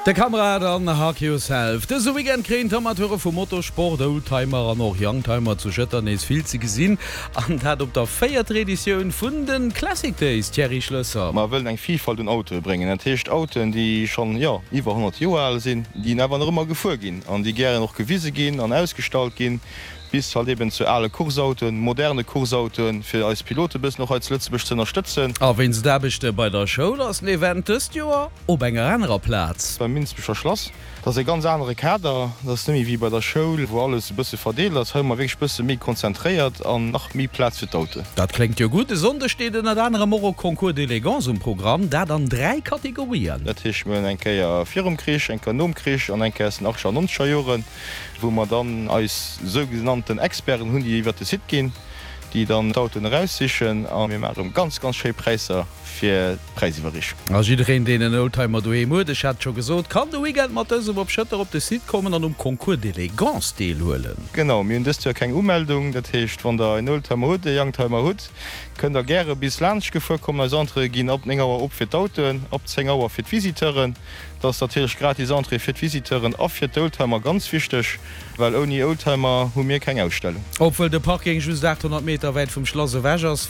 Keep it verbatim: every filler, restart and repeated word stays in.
De Kamerad an Hug Yourself. Dëse Weekend kréien d'Amateure vum Motorsport, Oldtimer an och Youngtimer zu Schëtter nees vill ze gesinn. An dat op der véierter Editioun vun de Classic Days, Thierry Schlösser. Mer wëllen eng Vilfalt un Autoe bréngen, dat heescht Autoen, déi schonn, jo, iwwer honnert Joer al sinn, déi awer nach ëmmer gefuer ginn an déi gären och gewise ginn an ausgestallt ginn, bis halt eben zu ale Courseautoen, moderne Courseautoen, fir eis Pilote e bëssen och hei zu Lëtzebuerg ze ënnerstëtzen. A wéinst Aarbechte bei der Schoul ass den Event dëst Joer op enger anerer Plaz. Beim Minsbecher Schlass. Dat ass e ganz anere Kader, dat ass net méi wéi bei der Schoul, wou alles e bësse verdeelt ass. Hei hu mer wierklech e bësse méi konzentréiert an nach méi Plaz fir d'Autoen. Dat kléngt jo gutt. E Sonndeg steet ënnert anerem och e Concours d'élégance um Programm, dat an dräi Kategorien. Dat heescht, mir hunn eng Kéier virum Krich, eng Kéier nom Krich an eng Kéier aus den achtzeger an nonzeger Joren, wou mer dann eis sougenannten Experten hunn, déi iwwert de Site ginn, déi dann d'Autoen eraussichen a mir maache ganz, ganz schéi Präisser fir d'Präisiwwerreechung. A jiddereen, deen en Oldtimer doheem huet, ech hat et scho gesot, kann de Weekend mat dësem op Schëtter op de Site kommen an um Concours d'élégance deelhuelen. Genau, mir hunn dëst Joer keng Umeldung. Dat heescht, wann der en Oldtimer hutt, e Youngtimer hutt, kënnt der gäre bis laanscht gefuer kommen. Eis Entréeë ginn ab néng Auer op fir d'Autoen, ab zéng Auer fir d'Visiteuren. Dat ass natierlech gratis Entrée fir d'Visiteuren a fir d'Oldtimer, ganz wichteg, well ouni Oldtimer hu mir keng Ausstellung. Obwuel de Parking just achthonnert Meter wäit vum Schlass ewech ass,